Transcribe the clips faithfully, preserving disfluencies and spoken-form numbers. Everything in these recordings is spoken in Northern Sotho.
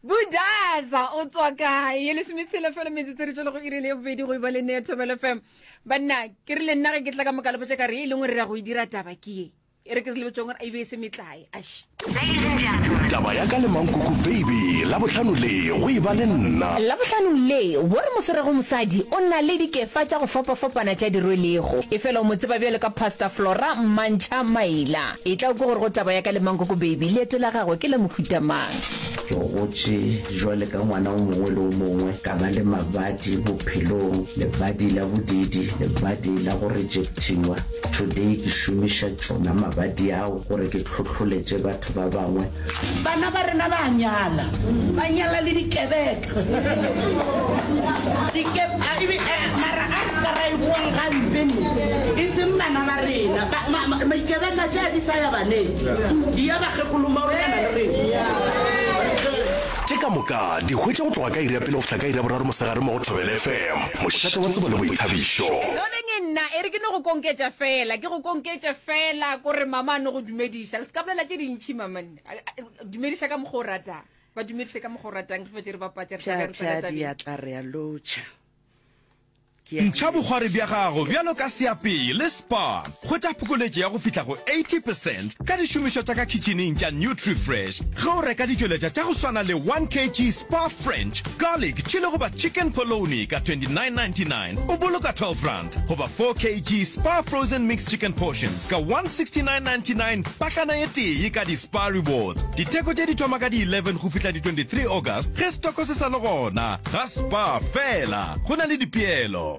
Budaza o tswa kae? Ye lesometshela fela metsotso re tšwela go iri le ya bobedi go e ba le nne ya Thobela F M. Banna, ke rile nna ge ke tla ka moka le botša ka re ye e lengwe re ya go e dira taba ke ye. E re ke se le botšong gore e be e se metlae. Ash. Taba ya ka le Mankoko Baby, Labohlano le go e ba le nna. Labohlano le, wo re mo swerego mosadi o na le dikefa tša go fapafapana tša di rwelego. Efela o mo tseba bjalo ka Pastor Flora Mantšha Maila. Etla o kwe gore go taba ya ka le Mankoko Baby leeto la gagwe ke la mohuta mang. Ke gotše jwale ka ngwana o mongwe le o mongwe, ka ba le mabadi bophelong, lebadi la bodiidi, lebadi la go rejectiwa. Today ke šomiša tšona mabadi ao gore ke hlohloletše batho ba bangwe. Bana ba rena ba a nyala, ba nyala le dikebeka. Dike, a, ebe, a, mara a re se ka ra e boang gampe ne, e seng bana ba rena. Ba, ma, ma, maikebeka tše a di sa ya baneng, di ya bakgekolo maolana le rena. Tše ka moka di hwetša go tloga ka iri ya pele go fihla ka iri ya boraro mosegare mo go Thobela F M, mošate wa tsebo le boithabišo. Loleng nna e re ke no go konketša fela, ke go konketše fela, ko re mama a no go dumediša. Le se ka bolela tše dintši mama nna. Dumediša ka mokgwa o ratang. Ba dumediše ka mokgwa o ratang, re fetše re bapatše, re tla be re tsena Pša, pša, tabeng. diatla re a lotšha. Ke a Ntšha bokgwari bja gago bjalo ka seapei le Spar. Hwetša phokoletšo ya go fihla go eighty percent ka dišomišwa tša ka khitšhining tša Nutrifresh ge o reka ditšweletšwa tša go swana le one kg Spar French Garlic Chili goba Chicken Polony ka twenty-nine ninety-nine o boloka twelve rand goba four kg Spar Frozen Mixed Chicken Portions ka one sixty-nine ninety-nine pakana ye tee ka di-Spar Rewards. Ditheko tše di thoma ka di eleven go fihla di twenty-three August ge stoko se sa le gona ga Spar fela. Go na le dipeelo.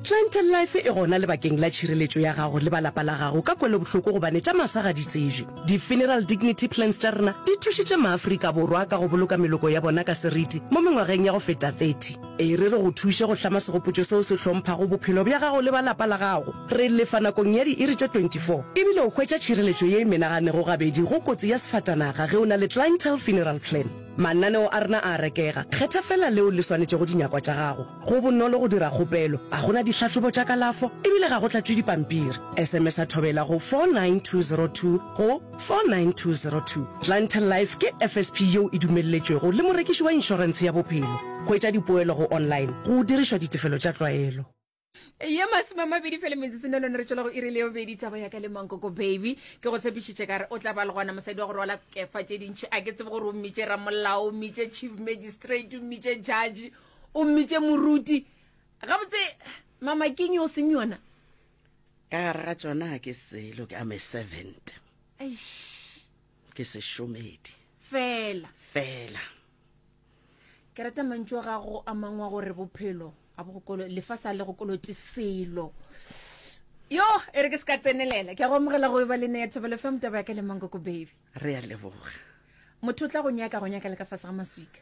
Clientele Life e gona lebakeng la tšhireletšo ya gago le ba lapa la gago ka kwelobohloko gobane tša masa ga di tsejwe. Di-funeral dignity plans tša rena di thušitše maAfrika Borwa ka go boloka meloko ya bona ka seriti mo mengwageng ya go feta thirty. E re re go thuše go hlama segopotšo seo se hlomphago bophelo bja gago le ba lapa la gago. Re lefa nakong ya diiri tše twenty-four ebile o hwetša tšhireletšo ye e menaganego gabedi go kotsi ya sefatanaga ge o na le Clientele Funeral Plan. Mananeo a rena a a rekega, kgetha feela leo le swanetšego dinyakwa tša gago. Go bonolo go dira kgopelo, ga go na dihlahlobo tša kalafo ebile ga go tlatšwe dipampiri. S M S a Thobela go four nine two zero two go four nine two zero two. Clientele Life ke F S P yeo e dumelletšwego le morekiši wa inšorentshe ya bophelo. Hwetša dipoelo go online go dirišwa ditefelo tša tlwaelo. Ye masome a mabedi fela metsotso ne lone re tšwela go iri le bobedi. Taba ya ka le Mankoko Baby, ke go tshepišitše ka re o tla ba le gona mosadi wa go rwala kefa tše dintšhi. A ke tsebe gore o mmitše ramolao, o mmitše chief magistrate, o mmitše judge, o mmitše moruti. Gabotse mama keng o seng yona? Ka gare ga tšona ga ke selo, ke am a servant. Eish. Ke sešomedi. Fela. Fela. Ke rata mantšu a gago a mangwe a gore bophelo a bo go kolo, lefase a le go kolote selo. Yo, e re ke se ka tsenelela. Ke a go amogela go e ba le nna ya Thobela F M, taba ya ka le Mankoko Baby. Re a leboga. Motho o tla go nyaka, go nyaka le ka fase ga maswika.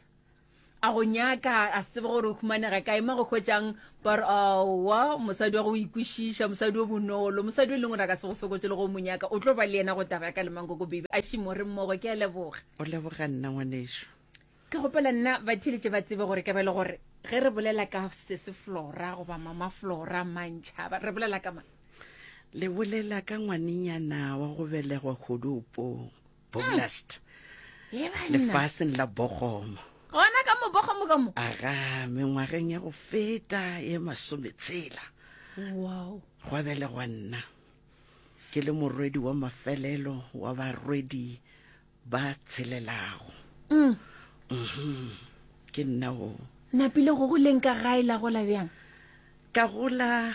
A go nyaka, a se tsebe gore o humanega kae, ma go hwetšang, ba re, aowa, mosadi wa go ikwešiša, mosadi o bonolo, mosadi o leng gore a ka se go sokotše le go mo nyaka, o tlo ba le yena go taba ya ka le Mankoko Baby. A šimo re mmogo, ke a leboga. O leboga nna ngwanešu. Ke gopela nna ba theletše ba tsebe gore ke ba le gore ge re bolela ka sese Flora goba mama Flora Mantšhaba, re bolela ka mang? Le bolela ka ngwanenyana wa go belegwa Kgoduopong, Boblast. Ye banna. Lefaseng la Bogomo. Gona ka mo Bogomo ka mo? Aga, mengwageng ya go feta ye masometshela. Wow. Gwa belegwa nna. Ke le morwedi wa mafelelo wa barwedi ba tshelelago. Mm. Mhm. Ke nna o. Napile go goleng ka gae la gola bjang? Ka gola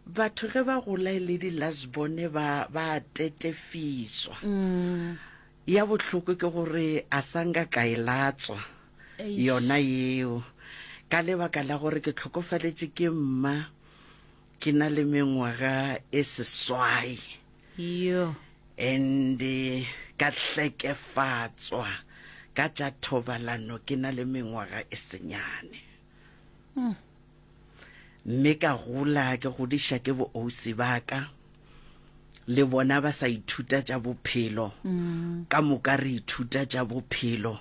batho ge ba gola e le di-last born ba, ba tetefiswa. Mm. Ya bohloko ke gore a sa nka ka e latswa Eish. yona yeo, ka lebaka la gore ke hlokofaletše ke mma ke na le mengwaga e seswai. Yo. And ka hlekefatswa ka tša thobalano ke na le mengwaga e senyane. Mm. Mme ka gola ke godiša ke bo ausi ba ka, le bona ba sa ithuta tša bophelo. Mm. Ka moka re ithuta tša bophelo,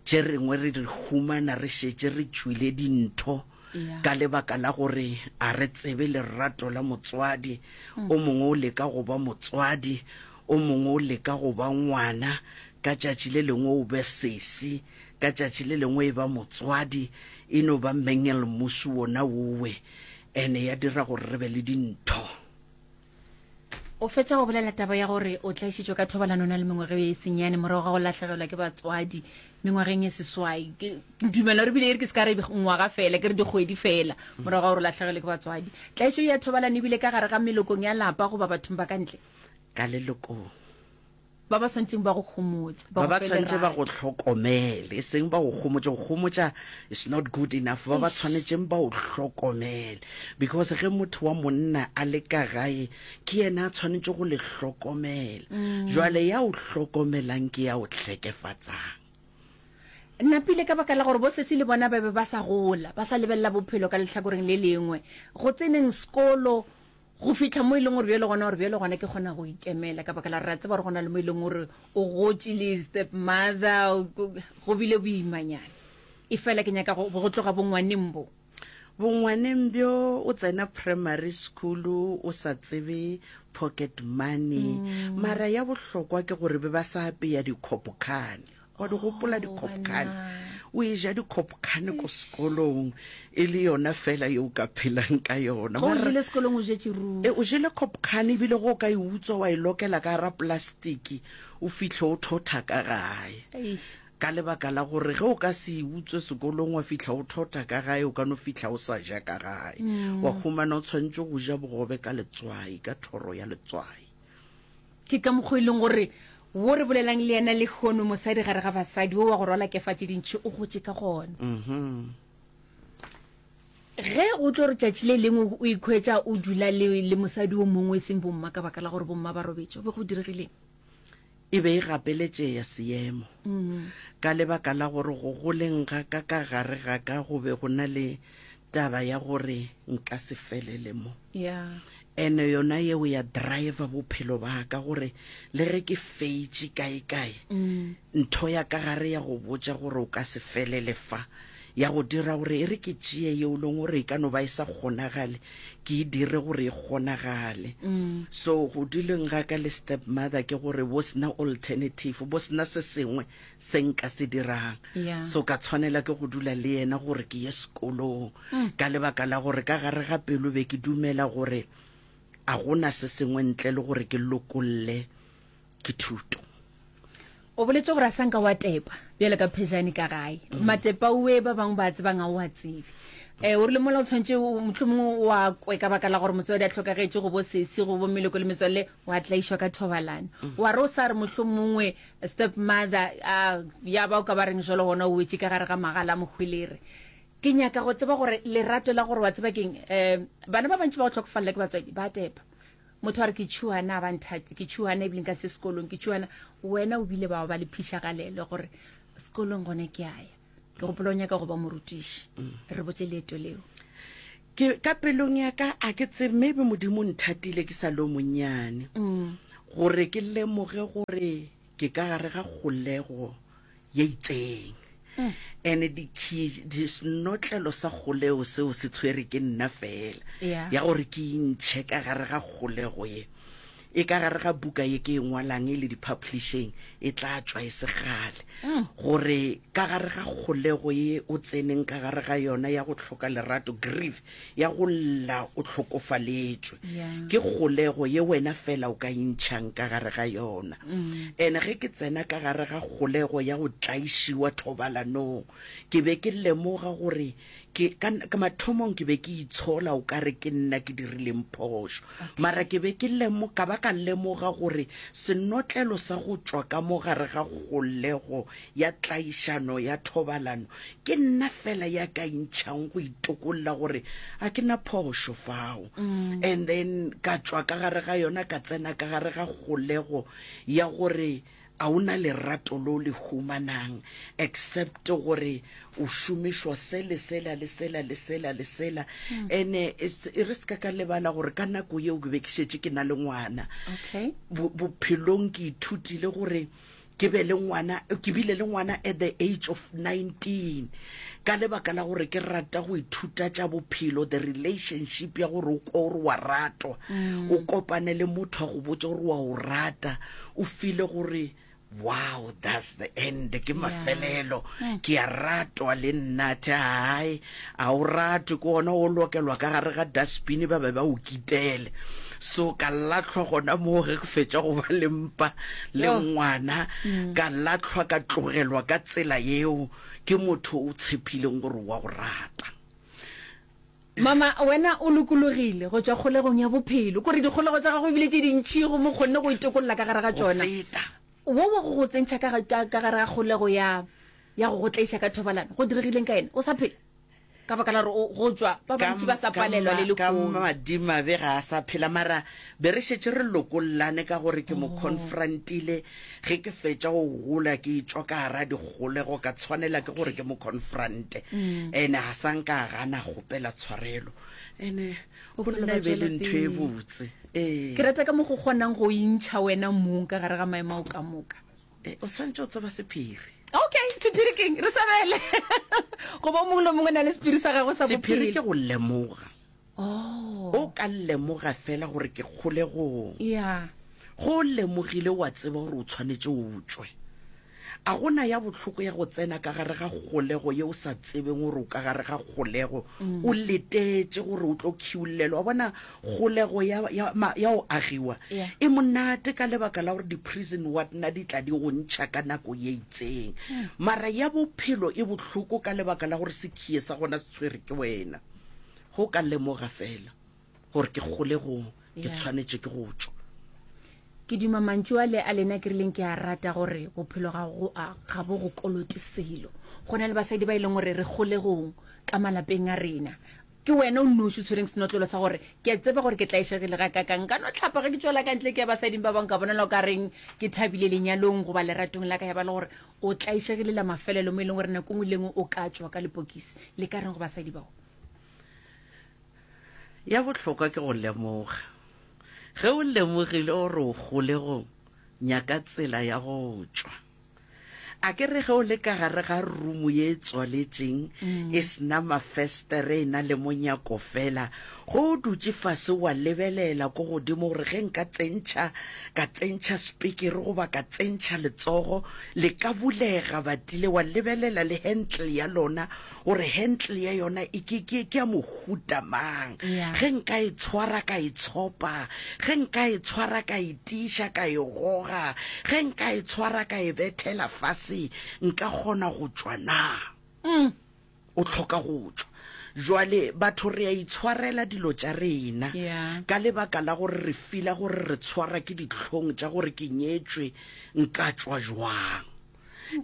tše rengwe re di humana re šetše re tšwile dintho. Yeah. Ka lebaka la gore a re tsebe lerato la motswadi. Mm. O mongwe o leka go ba motswadi, o mongwe o leka go ba ngwana. Ka tšatši le lengwe o be sesi, ka tšatši le lengwe e ba motswadi, e no ba mengelmusu wona wowe, ene ya dira gore re be le dintho. O fetša go bolela taba ya gore o tlaišitšwe ka thobalano o na le mengwaga ye senyane morago ga go lahlegelwa ke batswadi mengwageng ye seswai. Ke dumela gore bile e re ke se ka re ngwaga fela, ke re dikgwedi fela morago ga gore o lahlegelwe ke batswadi. Tlaišo ya thobalano ebile ka gare ga melokong ya lapa goba bathong ba ka ntle? Ka lelokong. Ba ba swantšeng ba go homotša, ba ba tshwanetše ba go hlokomele, e seng ba go homotša. Go homotša is not good enough. Ba ba tshwanetšeng ba o hlokomele, because ge motho wa monna a le ka gae, ke yena a tshwanetše go le hlokomela. Mm. Jwale ya o hlokomelang ke ya o hlekefatsang. Napile ka baka la gore bo sesi le bona ba be ba sa gola, ba sa lebelela bophelo ka lehlakoreng le lengwe. Go tseneng sekolo, go fihla mo e leng gore bjale gona gore bjale gona ke kgona go ikemela, ka baka la re a tseba gore gona le mo e leng gore o gotše le step mother, go bile boimanyana. E fela ke nyaka go go tloga bongwaneng bo. Bongwaneng bjo o tsena primary school o sa tsebe pocket money, mm. mara ya bohlokwa ke gore be ba sa apeya dikhopokane. Wa di gopola dikhopokane? O e ja dikhopokane ko sekolong e le yona fela ye o ka phelang ka yona. O jele sekolong, o jetše ruri. E, o jele khopokane, ebile go o ka e utswa wa e lokela ka gara plastiki, o fihle o thotha ka gae. Ka lebaka la gore ge o ka se e utswe sekolong wa fihla o thotha ka gae, o ka no fihla o sa ja ka gae. Wa humana o tshwanetse go ja bogobe ka letswai, ka thoro ya letswai. Ke ka mokgwa e leng gore wo re bolelang le yena lehono, mosadi gare ga basadi wo wa go rwala kefa tše dintši, o gotše ka gona. Ge go tlo re tšatši le lengwe o ikhwetša o dula le, le mosadi o mongwe e seng bomma ka baka la gore bomma ba robetše, go be go diregileng? E be e gapeletšeya seemo. Ka lebaka la gore go goleng ga ka ka gare ga ka go be go na le taba ya gore nka se felele mo. Yeah. Ene yona yeo ya driver bophelo ba ka gore le ge ke feitše kae kae, ntho ya ka gare ya go botša gore o ka se felele fa, ya go dira gore e re ke tšee yeo leng gore e ka no ba e sa kgonagale, ke e dire gore e kgonagale. So go duleng ga ka le stepmother ke gore bo sena alternative, bo sena se sengwe se nka se dirang. Yeah. So ka tshwanela ke go dula le yena gore ke ye sekolong, ka lebaka la gore ka gare ga pelo be ke dumela gore a gona se sengwe ntle le gore ke lokolle ke thuto. O boletse gore a sanka wa tepa bjale ka phejane ka gae. Matepa oe ba bangwe ba tsebang a o a tsebe. Eh, o rile mola o tshwanetse mohlomongwe wa kwe ka baka la gore motswadi a hlokagetše go bo sesi, go bo meloko le metswalle, wa tlaišwa ka thobalano. Wa re o sa re mohlomongwe step mother a ya ba o ka ba reng jalo gona o wetše ka gare ga magala a mohwelere. Ke nyaka go tseba gore lerato la gore wa tseba keng, eh, bana ba bantši ba go hlokofalela ke batswadi ba tepa. Motho a re ke tšhuana ba nthate, ke tšhuana ebile nka se sekolong, ke tšhuana. Wena o bile ba ba le phišagalelo gore sekolong gone ke a ya. Ke gopola o nyaka go ba morutiši. Re botse leeto leo. Ke ka pelong ya ka a ke tsebe, maybe Modimo nthatile ke sa le monnyane. Gore ke lemoge gore ke ka gare ga kgolego ye itseng. Ene di-senotlelo sa kgolego seo se tshwere ke nna fela. Ya gore ke intšhe ka gare ga kgolego ye. E ka gare ga buka ye ke e ngwalang e le di-publishing, e tla tšwa e se kgale. Gore ka gare ga kgolego ye o tseneng ka gare ga yona ya go hloka lerato, grief, ya go lla o hlokofaletšwe. Ke kgolego ye wena fela o ka intšhang ka gare ga yona. Ene ge ke tsena ka gare ga kgolego ya go tlaišiwa thobalanong, ke be ke lemoga gore ke ka, ka mathomong ke be ke itshola o ka re ke nna ke dirileng phošo. Mara ke be ke lemo-, ka ba ka lemoga gore senotlelo sa go tšwa ka mo gare ga kgolego ya tlaišano ya thobalano ke nna fela ya ka intšhang go itokolla gore a ke na phošo fao. And then ka tšwa ka gare ga yona, ka tsena ka gare ga kgolego ya gore a ona lerato lo le humanang except gore o šomišwa se le sela le sela le sela le sela. Ene e re se ka ka lebala gore ka nako yeo ke be ke šetše ke na le ngwana. Okay. Bophelong ke ithutile gore ke be le ngwana, ke bile le ngwana at the age of nineteen. Ka lebaka la gore ke rata go ithuta tša bophelo, the relationship ya gore o kwe gore wa ratwa, o kopane le motho a go botša gore wa o rata, o feel gore Wow, that's the end, ke mafelelo. Ke a ratwa le nna, the hai, a o ratwe, ke gona o lokelwa ka gare ga dustbin ba be ba o kitele. So ka lahlwa gona moo ge ke fetša go ba le mpa le ngwana, ka lahlwa ka tlogelwa ka tsela yeo ke motho o tshepileng gore wa go rata. Mama, wena o lokologile go tšwa kgolegong ya bophelo. Kore dikgolego tša gago e bile tše dintši gomme o kgonne go itokolla ka gare ga Go tšona. feta. Wo wa go go tsentšha ka, ka, ka gare ga kgolego ya, ya go go tlaiša ka thobalano, go diregileng ka yena? O sa phela? Ka baka la gore o, go tšwa ba Ka, bantši ba sa ka, palelwa le ma, ka lehono. madimabe ga a sa phela, mara be re šetše re lokollane ka gore ke mo Oh. confrontile ge ke fetša go gola ke etšwa ka gara dikgolego, ka tshwanela ke gore Okay. ke mo confronte. Mm. Ene ga sa nka a gana a kgopela tshwarelo. Ene go Bophelo nna ba e be e le tšwela ntho e pele. botse. Ke Ee. rata ka mo go kgonang go intšha wena mong ka gare ga maemo ao ka moka. E, o swanetše go tseba sephiri. Okay, sephiri keng? Re sabele. Goba o mongwe le o mongwe o na le sephiri sa gagwe sa Sephiri bophelo. ke go lemoga. Oh. O ka lemoga fela gore ke kgolegong. Yeah. Go o lemogile wa tseba gore o tshwanetše o tšwe. A go na ya bohloko ya go tsena ka gare ga kgolego ye o sa tsebeng gore o ka gare ga kgolego, o letetše gore o tlo khiullelwa. Wa bona, kgolego ya, ya, ma, ya go agiwa Yeah. e monate ka lebaka la gore di-prison wardna di tla di go ntšha ka nako ye itseng. Mara ya bophelo e bohloko ka lebaka la gore sekhie sa gona se tshwere ke wena. Go ka lemoga fela gore ke kgolegong, ke Yeah. tshwanetše ke go tšwa. Ke duma mantšu ale a lena ke rileng ke a rata gore bophelo ga go a ga bo go kolote selo. Go na le basadi ba e leng gore re kgolegong ka malapeng a rena. Ke wena o nnoši o tshwereng senotlolo sa gore ke a tseba gore ke tlaišegile ga kakang. Nka no hlapa ge ke tšwela ka ntle ke ya basading ba bangwe ka bonala o ka reng ke thabile lenyalong goba leratong la ka ya ba le gore o tlaišegile la mafelelo mo e leng gore nako nngwe le nngwe o ka tšwa ka lepokisi. Le ka reng go basadi bao? Ya bohlokwa ke go lemoga. Ge o lemogile gore o kgolegong, nyaka tsela ya go tšwa. A ke re ge o le ka gare ga rumu ye e tswaletšeng, e se na mafestere, e na le monyako fela, ge o dutše fase wa lebelela ko godimo gore ge nka tsentšha, ka tsentšha sepikiri goba ka tsentšha letsogo, le ka bulega batile, wa lebelela le handle ya lona gore handle ya yona e ke, ke, ke ya mohuta mang. Yeah. Ge nka e tshwara ka e tshopa, ge nka e tshwara ka e tiiša ka e goga, ge nka e tshwara ka e bethela fase, nka kgona go tšwa na? Mm. O hloka go tšwa. Jwale batho re a itshwarela dilo tša rena Yeah. ka lebaka la gore re fila gore re tshwara ke dihlong tša gore ke nyetšwe, nka tšwa jwang.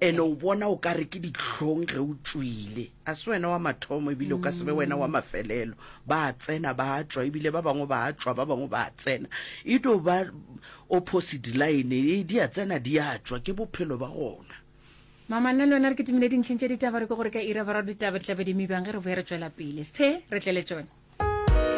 Ene o bona o ka re ke dihlong ge o tšwile. A se wena wa mathomo ebile o ka se be wena wa mafelelo. Ba tsena ba tšwa ebile ba bangwe ba tšwa ba bangwe ba tsena. E do ba opposite line, e di a tsena di a tšwa, ke bophelo ba gona. Mama, nna le wena re kitimile dintlheng tša ditaba, re ke gore ka iri ya boraro ditaba di tla be di mibang ge re boya re tšwela pele. Sthe, re tle le tšona.